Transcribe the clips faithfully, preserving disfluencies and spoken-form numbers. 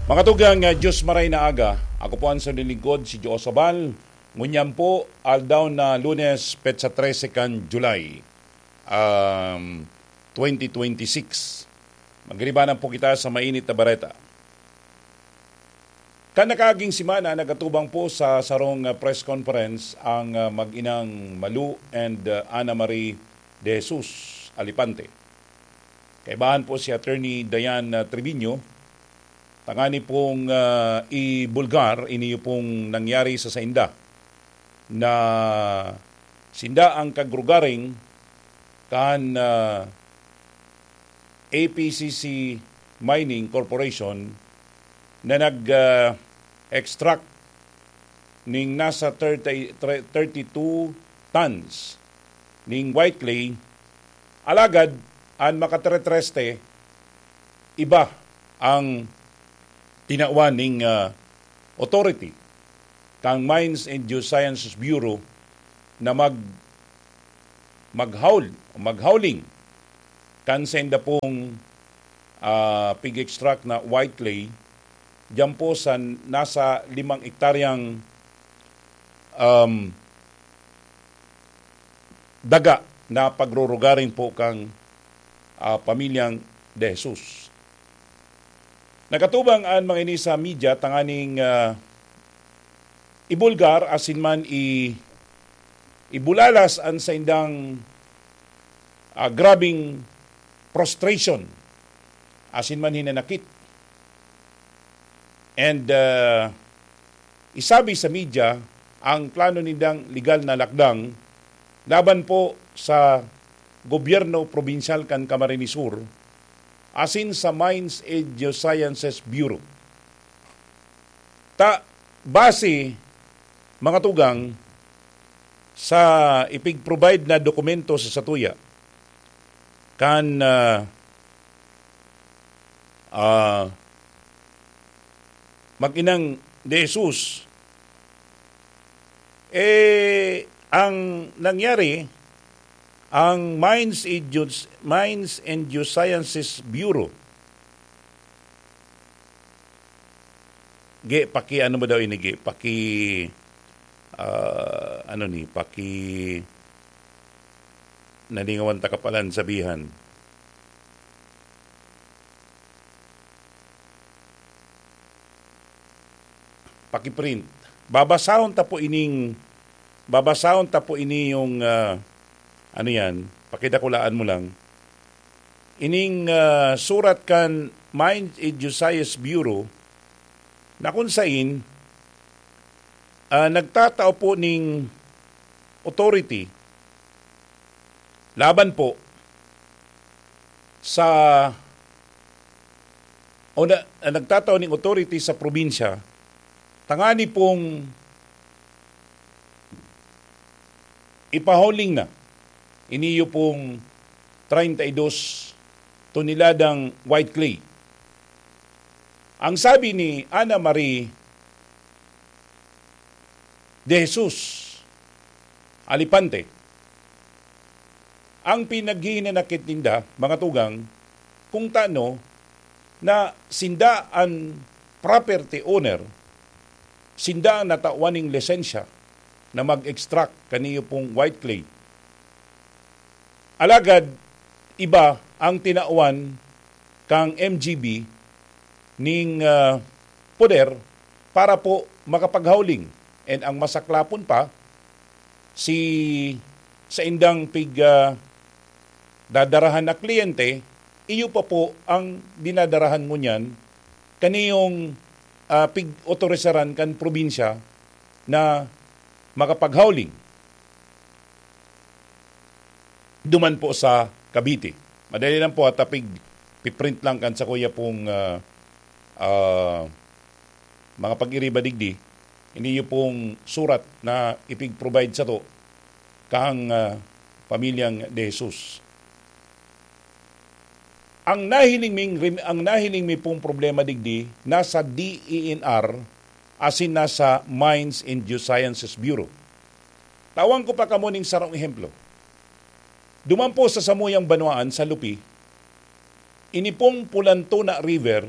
Mga tugang, ah, Diyos maray na aga. Ako po ang sinulingkod, si Joe Sabal. Ngunyan po, aldaw na Lunes, petsa trese kan July, um, twenty twenty-six. Magribanan po kita sa mainit na bareta. Kan nakaaging semana, nagatubang po sa sarong, ah, press conference ang, ah, mag-inang Malu and, ah, Ana Marie de Jesus Alipante. Kaibahan po si Attorney Diane, ah, Triviño, tangani pong, ah, ibulgar, iniyo pong nangyari sa sainda na sinda ang kagrugaring kan, ah, A P C C Mining Corporation na nag, ah, extract ning nasa thirty, thirty-two tons ning white clay, alagad an makateretreste iba ang tinawan ning, ah, authority kang Mines and Geosciences Bureau na mag-, maghaul, maghauling kan senda pong, ah, pig-extract na white clay diyan po sa nasa limang ektaryang, um, daga na pagrurugaring po kang, ah, pamilyang De Jesus. Nakatubang an mga ini sa media tanganing, ah, ibulgar asin man i-, ibulalas an saindang, ah, grabing frustration asin man hinanakit. And, ah, isabi sa media ang plano nindang legal na lakdang laban po sa gobyerno probinsyal kan Camarines Sur asin sa Mines and Geosciences Bureau. Ta, base, mga tugang, sa ipig-provide na dokumento sa satuya, kan, ah, ah, mag-inang De Jesus, eh, ang nangyari, ang Mines and Geos-, Mines and Geosciences Bureau, Ge, paki-ano mo daw ini, Ge? Paki, ah, ano ni? Paki, nalingawan ta ka palan sabihan. Paki-print. Babasahon ta po ining, babasahon ta po ini yung, ah, ano yan? Pakidakulaan mo lang. Ining, ah, surat kan Mines and Geosciences Bureau na kun sain, ah, nagtatao po ning authority laban po sa, o na, ah, nagtatao ning authority sa probinsya tangani pong ipahuling na iniyo pong treinta y dos toneladang white clay. Ang sabi ni Ana Marie de Jesus Alipante, ang pinaghihinanakit ninda, mga tugang, kung tano na sinda an property owner, sinda ang natawan ning lisensya na mag-extract kaniyo pong white clay. Alagad iba ang tinawan kang M G B ning, ah, poder para po makapaghauling. And ang masaklapon pa, si saindang pig, ah, dadarahan na kliyente, iyo pa po ang dinadarahan ngunyan kaniyong, ah, pig-otorisaran kan probinsya na makapaghauling duman po sa Cavite. Madali lang po, ha, tapig piprint lang kan sakuya pong, ah, ah, mga pag-iriba digdi. Iniyo pong surat na ipig-provide sato kang, ah, pamilyang De Jesus. Ang nahiling ming rim-, ang nahiling mi pong problema digdi nasa D E N R asin nasa Mines and Geosciences Bureau. Tawan ko pa kamo ning sarong ehemplo. Duman po sa samuyang banwaan sa Lupi, Ini pong Pulantona River,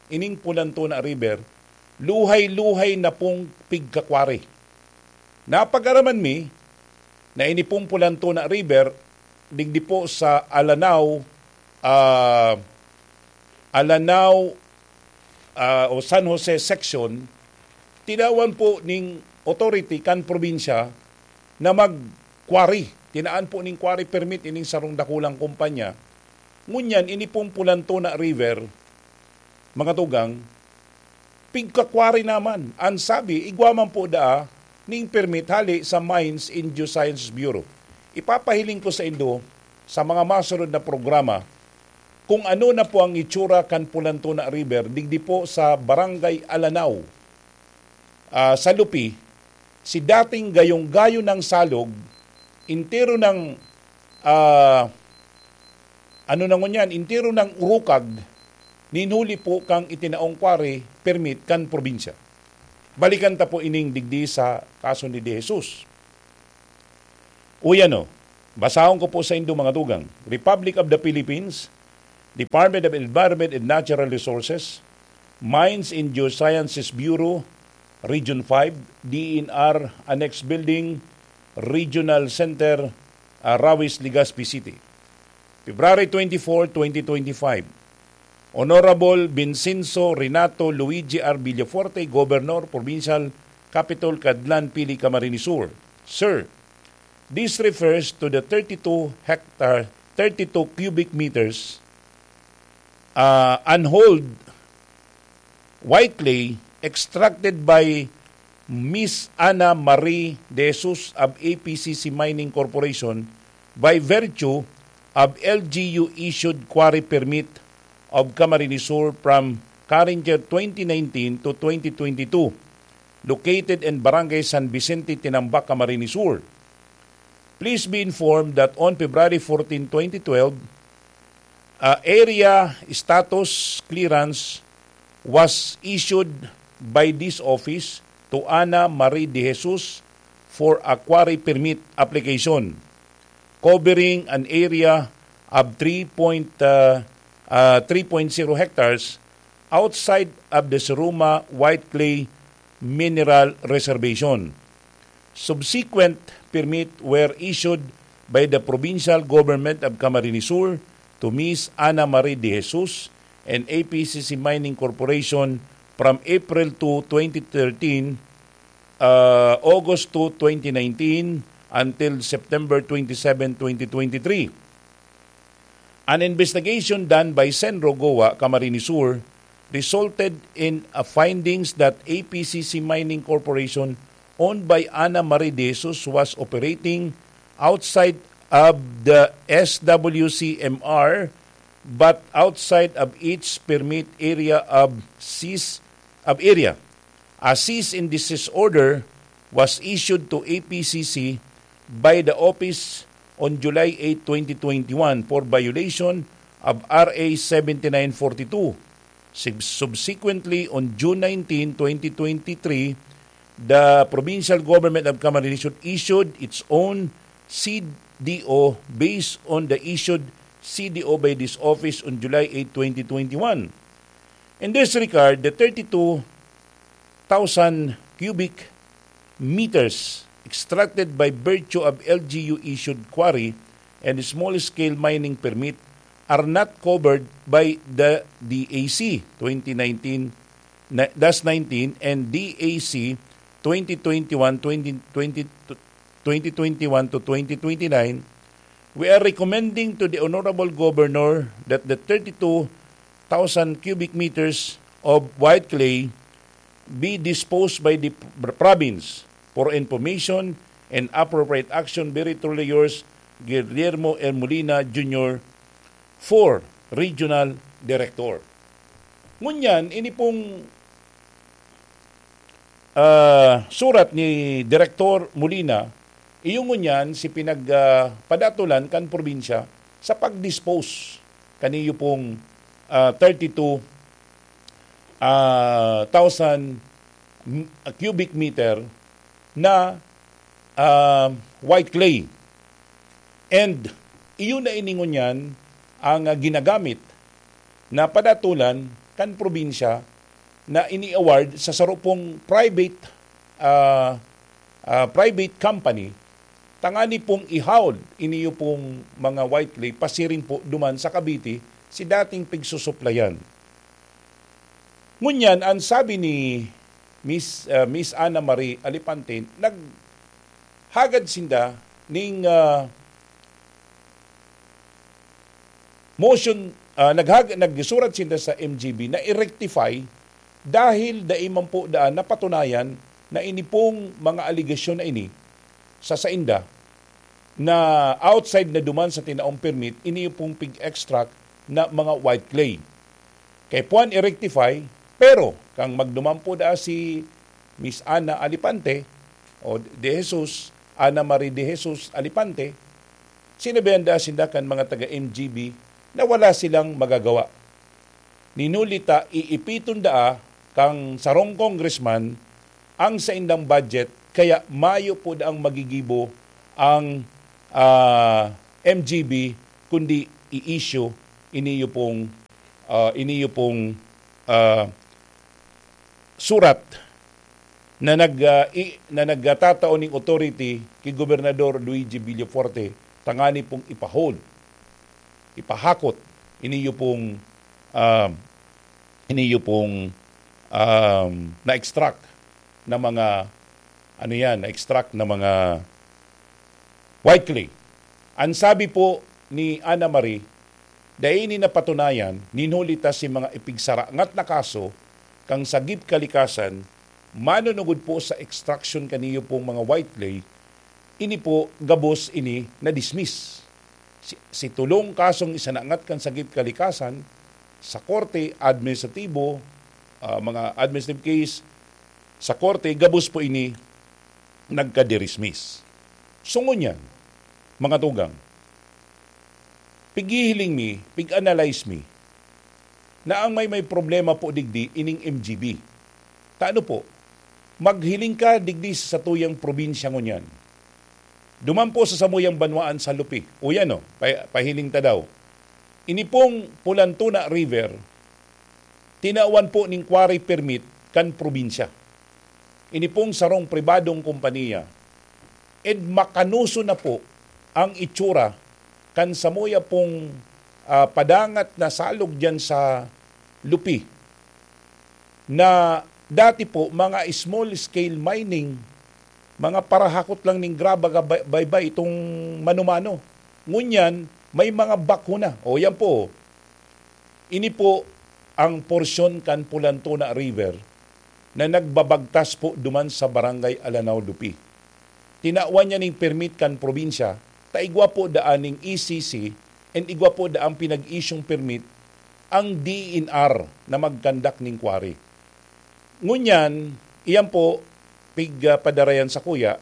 ining Pulantona River, luhay-luhay na pong pigkakwari. Napag-araman mi na ini pong Pulantona River, digdi po sa Alanao, ah, Alanao, ah, o San Jose section, tinawan po ning authority kan probinsya na mag-quarry. Tinaan po ning quarry permit ining sarong dakulang kumpanya. Ngunyan, ini pong Pulantona River, mga tugang, pigkakwari naman. An sabi, igwa man po daa ning permit hale sa Mines and Geosciences Bureau. Ipapahiling ko sa indo sa mga masunod na programa kung ano na po ang itsura kan Pulantona River digdi po sa Barangay Alanao, ah, sa Lupi, si dating gayong-gayo ng salog, entero ng, ah, ano na ngunyan, entero ng urukag, nin huli po kang itinaong quarry permit kan probinsya. Balikan ta po ining digdi sa kaso ni De Jesus. Uy ano, basahon ko po sa indo mga tugang. Republic of the Philippines, Department of Environment and Natural Resources, Mines and Geosciences Bureau, Region five, D E N R Annex Building, Regional Center, ah, Rawis, Legazpi City. February twenty-four, twenty twenty-five. Honorable Vincenzo Renato Luigi R. Villafuerte, Governor, Provincial Capitol, Cadlan, Pili, Camarines Sur. Sir, this refers to the thirty-two hectare, thirty-two cubic meters, uh, unhauled white clay extracted by Miss Ana Marie De Jesus of A P C C Mining Corporation by virtue of L G U issued quarry permit of Camarines Sur from current year twenty nineteen to twenty twenty-two, located in Barangay San Vicente, Tinambac, Camarines Sur. Please be informed that on February fourteen, twenty twelve, uh, area status clearance was issued by this office to Ana Marie De Jesus for a quarry permit application covering an area of three point, uh, uh, three point zero hectares outside of the Siruma White Clay Mineral Reservation. Subsequent permit were issued by the Provincial Government of Camarines Sur to Miss Ana Marie De Jesus and A P C C Mining Corporation from April two, twenty thirteen, uh, August two, twenty nineteen, until September twenty-seven, twenty twenty-three. An investigation done by Senro Goa, Camarines Sur, resulted in a findings that A P C C Mining Corporation, owned by Ana Marie De Jesus, was operating outside of the S W C M R, but outside of its permit area of cease of area. A cease and desist order was issued to A P C C by the office on July eight, twenty twenty-one, for violation of R A seventy-nine forty-two. Sub-, subsequently, on June nineteen, twenty twenty-three, the provincial government of Camarines Sur issued its own C D O based on the issued C D O by this office on July eight, twenty twenty-one. In this regard, the thirty-two thousand cubic meters extracted by virtue of L G U issued quarry and small-scale mining permit are not covered by the D A C twenty nineteen na-, dash nineteen and D A C twenty twenty-one, twenty twenty, twenty twenty-one to twenty twenty-nine. We are recommending to the Honorable Governor that the thirty-two thousand cubic meters of white clay be disposed by the pr-, province. For information and appropriate action, very truly yours, Guillermo L. Molina Junior, four, Regional Director. Ngunyan, ini pong, ah, surat ni Director Molina, iyo ngunyan si pinag, ah, padatolan kan probinsya sa pag-dispose kaniyo pong, ah, thirty-two, ah, thousand m-, cubic meter na, ah, white clay. And iyon na ini ngunyan ang, ah, ginagamit na padatolan kan probinsya na ini-award sa saro pong private, ah, ah, private company, tangani pong ihaod iniyo pong mga white clay pasiring po duman sa Cavite si dating pigsusuplayan. Ngunyan, ang sabi ni Miss, ah, Miss Ana Marie Alipante, naghagad sinda ning, ah, motion, ah, naghag-, nagsurat sinda sa M G B na i-rectify dahil dai man po daan napatunayan na ini pong mga alegasyon na ini sa sainda na outside na duman sa tinaong permit, ini pong pig-extract na mga white clay. Kay puan i-rectify, pero kan magduman po daa si Miss Ana Alipante o De Jesus, Ana Marie De Jesus Alipante, sinabihan daa sinda kan mga taga M G B na wala silang magagawa. Nin huli ta iipiton daa kan sarong congressman ang saindang budget, kaya mayo po daang magigibo ang, ah, M G B, kundi i-issue iniyo pong, ah, iniyo pong, ah, surat na nag, ah, i-, na nagtatao ning authority ki Gobernador Luigi Villafuerte tangani pong ipa-hold, ipahakot iniyo pong, ah, iniyo pong, um, na-extract na mga, ano yan, na-extract na mga white clay. Ang sabi po ni Ana Marie, dai ini napatunayan, nin huli ta si mga ipigsarangat na kaso kan sagip kalikasan, manunugod po sa extraction kaniyo pong mga white clay, ini po gabos ini na-dismiss. Si, si tulong kasong isanangat kan sagip kalikasan sa korte administratibo, ah, mga administrative case sa korte, gabos po ini nagka-dismiss. So ngunyan, mga tugang, pighihiling mi, pig-analyze mi, na ang may, may problema po digdi ining M G B. Ta ano po, maghiling ka digdi sa satuyang probinsya ngunyan. Duman po sa samuyang banwaan sa Lupi. O yan o, pa-, pahiling ta daw. Ini pong Pulantuna River, tinawan po ning quarry permit kan probinsya. Ini pong sarong pribadong kompanya, ed makanoso na po ang itsura kan samuya pong, ah, padangat na salog diyan sa Lupi, na dati po mga small scale mining, mga parahakot lang ning graba, ga-, bay-, baybay itong mano-mano. Ngunyan, may mga backhoe na. O, yan po. Ini po ang porsyon kan Pulantuna River na nagbabagtas po duman sa Barangay Alanao, Lupi. Tinawan niya ning permit kan probinsya, ta igwa po daan ning E C C and igwa po daan pinag-isyong permit ang D E N R na magkandak ning quarry. Ngunyan, iyan po, pig, ah, padarayan sakuya,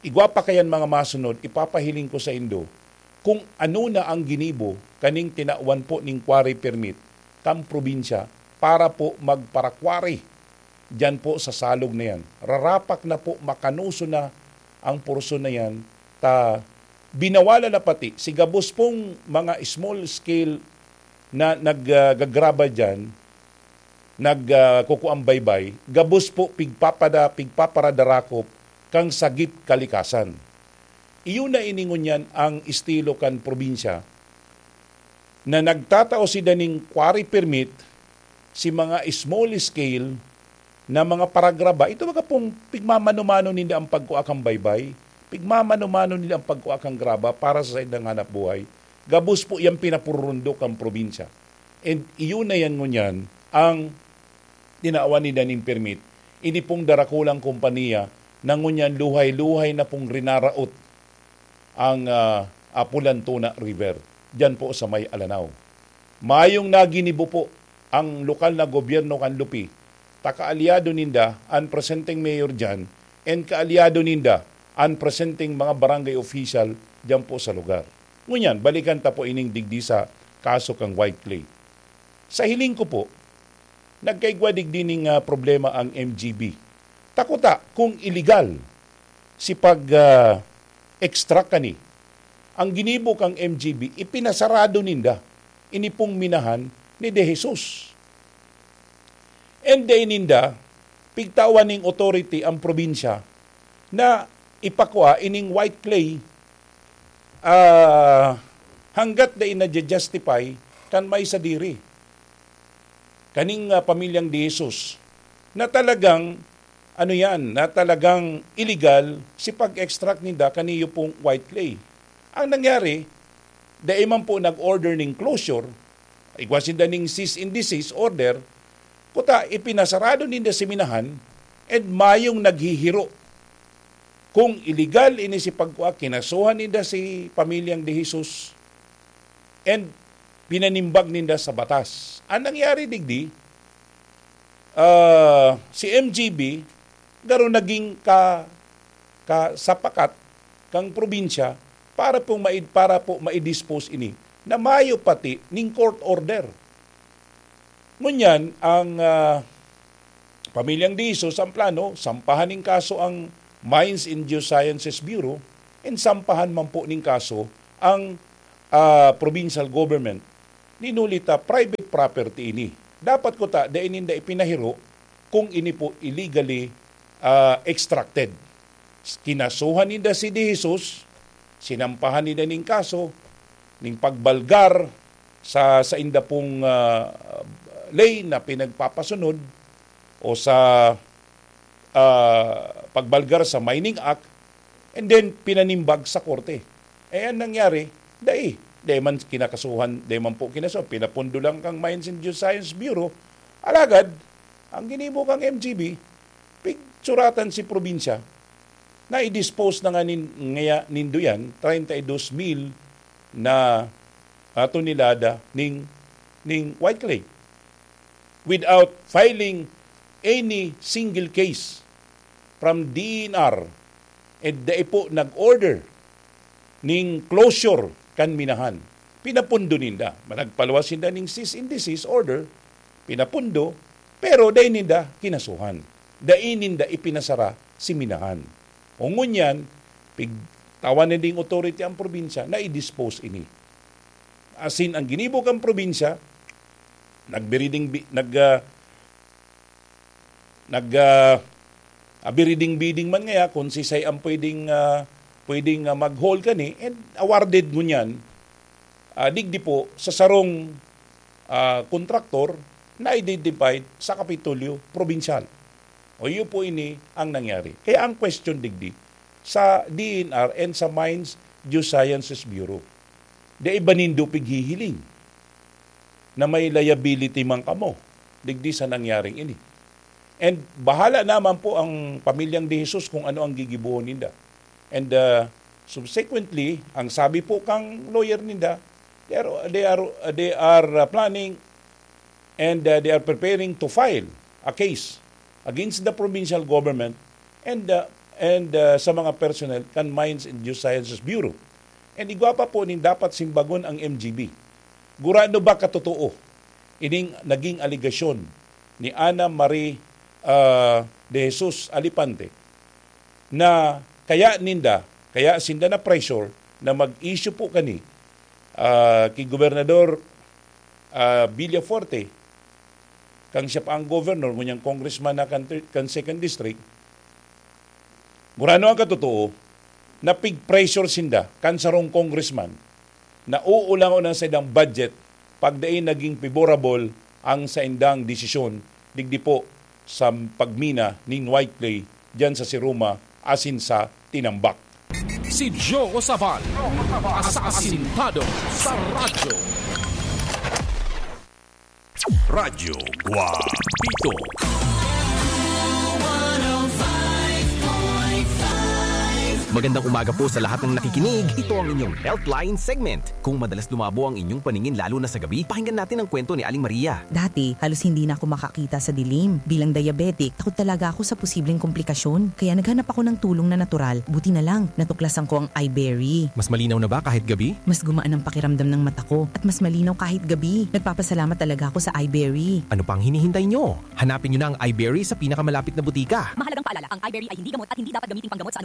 igwa pa kayan mga masunod, ipapahiling ko saindo kung ano na ang ginibo kaning tinawan po ning quarry permit kan probinsya para po magpara-quarry diyan po sa salog na yan. Rarapak na po, makanoso na ang porsyon na yan, ta binawalan na pati si gabos pong mga small scale na nag, ah, gagraba diyan, nag, ah, kukuang baybay, gabos po pigpapada-, pigpaparadarakop kan sagip kalikasan. Iyo na ini ngunyan ang estilo kan probinsya, na nagtatao sinda ning quarry permit si mga small scale na mga paragraba. Ito baga pong pigmamano-mano ninda ang pagkua kan baybay, pigmamano-mano ninda ang pagkua kan graba para sa saindang hanap buhay. Gabos po yang pinapururundok kan probinsya. And iyo na yan ngunyan ang tinawan ninda ning permit. Ini pong darakulang kompanya na ngunyan luhay-luhay na pong rinaraot ang, ah, ah, Pulantuna River, diyan po sa may Alanao. Mayong naginibo po ang lokal na gobyerno kan Lupi, ta kaalyado ninda an presenteng mayor diyan and kaalyado ninda an presenteng mga barangay official diyan po sa lugar. Ngunyan, balikan ta po ining digdi sa kaso kan white clay. Sa hiling ko po, nagkaigwa digdi ning, ah, problema ang M G B. Ta kuta, kung iligal si pag, ah, extract kani, ang ginibo kang M G B, ipinasarado ninda ini pong minahan ni De Jesus. And dai ninda pigtawan ning authority ang probinsya na ipakua ining white clay, ah, hanggat dai nadya-justify kan may sadiri kaning, ah, pamilyang De Jesus na talagang, ano yan, na talagang illegal si pag-extract ninda kaniyo pong white clay. Ang nangyari, dai man po nag-order ning closure, igwa sinda ning cease and desist order, kuta ipinasarado ninda si minahan and mayong naghihiro. Kung illegal ini si pagkua, kinasuhan ninda si pamilyang De Jesus and pinanimbag ninda sa batas. Ang nangyari digdi, ah, si M G B garo naging ka-, kasapakat kang probinsya para pong mai-, para po mai-dispose ini na mayo pati ning court order. Ngunyan, ang, ah, pamilyang De Jesus, ang plano, sampahan ning kaso ang Mines and Geosciences Bureau and sampahan man po ning kaso ang, ah, provincial government. Ninuli ta, private property ini. Dapat kuta, dai ninda ipinahiro kung ini po illegally, ah, extracted. Kinasuhan ninda si De Jesus, sinampahan ninda ning kaso, ning pagbalgar sa, sa inda pong, ah, ley na pinagpapasunod o sa, ah, pagbalgar sa Mining Act, and then pinanimbag sa korte. Eh, ang nangyari, dai. Dai man kinakasuhan, dai man po kinasuhan. Pinapundo lang kang Mines and Geoscience Bureau. Alagad, ang ginibo kang M G B, pigsuratan si probinsya na i-dispose na nga nin-, ngaya nindo yan, treinta y dos mil na, ah, tonelada ning, ning white clay without filing any single case from D E N R, and dai po nag-order ning closure kan minahan. Pinapundo ninda. Nagpaluwas sinda ning cease and desist order, pinapundo, pero dai ninda kinasuhan. Dai ninda ipinasara si minahan. O ngunyan, pigtawan na ding authority ang probinsya na i-dispose ini. Asin ang ginibo kan probinsya, nagbiriding bi-, nag, ah, nag, ah, ah, biriding-biding man ngaya kung sisay ang pwedeng, ah, pwedeng, ah, mag-haul kani, and awarded ngunyan, ah, digdi po sa sarong, ah, kontraktor na identified sa Kapitolyo Probinsyal. O iyo po ini ang nangyari. Kaya ang question digdi sa D E N R and sa Mines Geosciences Bureau, dai ba nindo pighihiling na may liability man kamo digdi sa nangyaring ini? And bahala naman po ang pamilyang De Jesus kung ano ang gigibohon ninda. And, uh, subsequently, ang sabi po kang lawyer ninda, they are, they are, they are, uh, planning and, uh, they are preparing to file a case against the provincial government and, uh, and, uh, sa mga personnel kan Mines and Geosciences Bureau. And igwa pa po nin dapat simbagon ang M G B. Gurano ba katotoo ining naging alegasyon ni Ana Marie, ah, de Jesus Alipante na kaya ninda, kaya sinda na pressure na mag-issue po kani, ah, ki Gobernador, ah, Villafuerte, kang siya pa ang governor, ngunyan congressman na kan, kan second district, gurano ang katotoo na pig-pressure sinda kan sarong congressman na uulangon ang saindang budget pag dai naging favorable ang saindang desisyon digdi po sa pagmina nin white clay diyan sa Siruma asin sa Tinambac. Si Joe Osaval, asasintado sa radyo. Radyo Guapito. Magandang umaga po sa lahat ng nakikinig. Ito ang inyong Healthline segment. Kung madalas lumabo ang inyong paningin lalo na sa gabi, pakinggan natin ang kwento ni Aling Maria. Dati, halos hindi na ako makakita sa dilim. Bilang diabetic, takot talaga ako sa posibleng komplikasyon. Kaya naghanap ako ng tulong na natural. Buti na lang, natuklasan ko ang iBerry. Mas malinaw na ba kahit gabi? Mas gumaan ang pakiramdam ng mata ko at mas malinaw kahit gabi. Nagpapasalamat talaga ako sa iBerry. Ano pang hinihintay nyo? Hanapin nyo na ang iBerry sa pinakamalapit na butika. Mahalagang paalala, ang iBerry ay hindi gamot at hindi dapat gamiting panggamot sa